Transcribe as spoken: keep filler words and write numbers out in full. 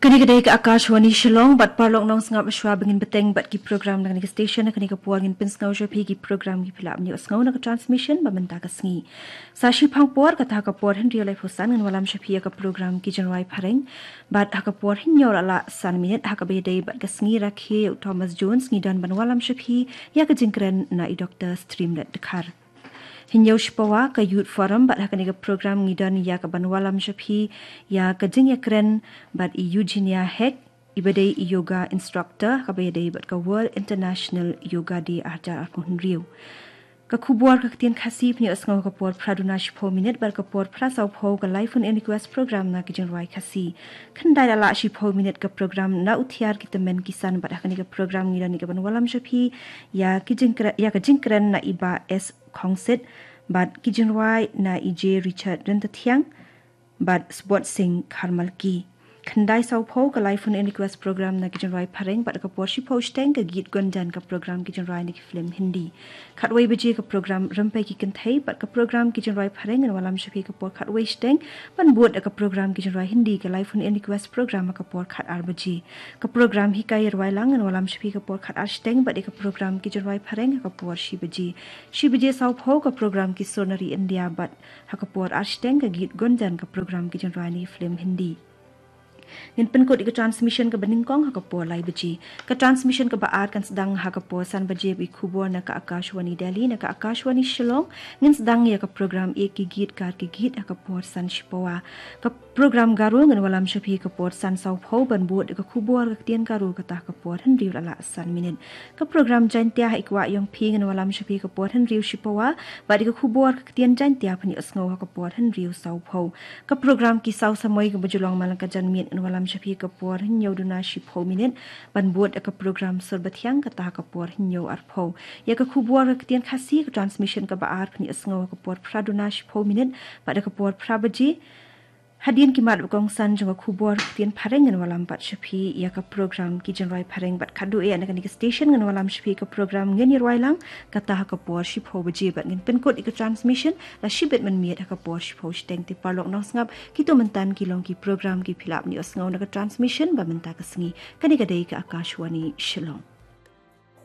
Kane ka dei ka Akashvani Shillong, bad paralok nongsngap, shwa ba ngin bteng bad ki program na kane ka station, ha kane ka por ngin pynsngew sha phi ki program kiba phi lah ban ïohsngew na ka transmission ba mynta ka sngi. Sa shiphang por, kata ha ka por hynriew laiphew san, ngin wallam sha phi ïa ka program Ki Jingrwai Phareng, bad ha ka por hynñiew la lah san minit, ha kaba ïadei bad ka sngi rakhe u Thomas Jones, ngi don ban wallam sha phi ïa ka jingkren na i Doctor Streamlet Dkhar. Hynñiew shipawa, ka Youth Forum, bad ha kane ka program ngi don ïa ka ban wallam sha phi ïa ka jingïakren bad i Eugenia Heck, iba dei i yoga instructor, ha kaba ïadei bad ka World International Yoga Day ar hajar arphew hynriew. Ka khubor ka ktien Khasi phin ïohsngew ha ka por phra duna shiphew minit, bad ka por phra sawphew ka live phone in request program na Ki Jingrwai Khasi. Khyndai la lah shiphew minit ka program Na U Thiar Ki Tymmen Ki San, bad ha kane ka program ngi don ïa ka ban wallam sha phi ïa ki jingkre-, ïa ka jingkren na i Bah S Khongsit, bad ki jingrwai na i J Richard Ryntathiang bad Sbot Singh Kharmalki. Khyndai sawphew ka live phone in request program na Ki Jingrwai Phareng, bad ka por shiphew shiteng ka Geet Gunjan, ka program ki jingrwai na ki film Hindi. Khatwei baje ka program Rympei Ki Kynthei, bad ka program Ki Jingrwai Phareng ngin wallam sha phi ka por khatwei shiteng, ban bud ïa ka program ki jingrwai Hindi, ka live phone in request program, ha ka por khatar baje. Ka program Hikai Ïarwai Lang ngin wallam sha phi ka por khatar shiteng, bad ïa ka program Ki Jingrwai Phareng ha ka por shi baje. Shi baje sawphew ka program Ki Sur na Ri India, bad ha ka por ar shiteng ka Geet Gunjan, ka program ki jingrwai na ki film Hindi. Ngin pynkut ïa ka transmission kaba nyngkong ha ka por lai baje. Ka transmission kaba ar kan sdang ha ka por san baje bad ki khubor na ka Akashvani Delhi. Na ka Akashvani Shillong ngin sdang ïa ka program Ek Ki Geet Kar Ki Geet ha ka por san shipawa. Ka program Garo ngin wallam sha phi ka por san sawphew, ban bud ïa ka khubor ka ktien Garo, kata ha ka por hynriew la lah san minit. Ka program Jaiñtia ha I Kwah Ïong Phi ngin wallam sha phi ka por hynriew shipawa, bad ïa ka khubor ka ktien Jaiñtia phin ïohsngew ha ka por hynriew sawphew. Ka program Ki Saw Samoi kaba ju long man la ka janmiet ngin wallam sha phi ka por hynñiew duna shiphew minit, ban bud ïa ka program Sur Bathiang, kata ha ka por hynñiew arphew. Ïa ka khubor ka ktien Khasi ka transmission kaba ar phin ïohsngew ha ka por phra duna shiphew minit, bad ha ka por phra baje. Hadien ki mat ba kongsan jong ka khubor ka ktien Phareng ngin wallam pat sha phi ïa ka program Ki Jingrwai Phareng, bad khatduh ïa na kane ka station ngin wallam sha phi ka program Ngin Ïarwai Lang, kata ha ka por shiphew baje, bad ngin pynkut ïa ka transmission la shibit mynmiet ha ka por shiphew shiteng. Te paralok nongsngap, kito mynta ki long ki program kiba phi lah ban ïohsngew na ka transmission ba mynta ka sngi. Kane ka dei ka Akashvani Shillong.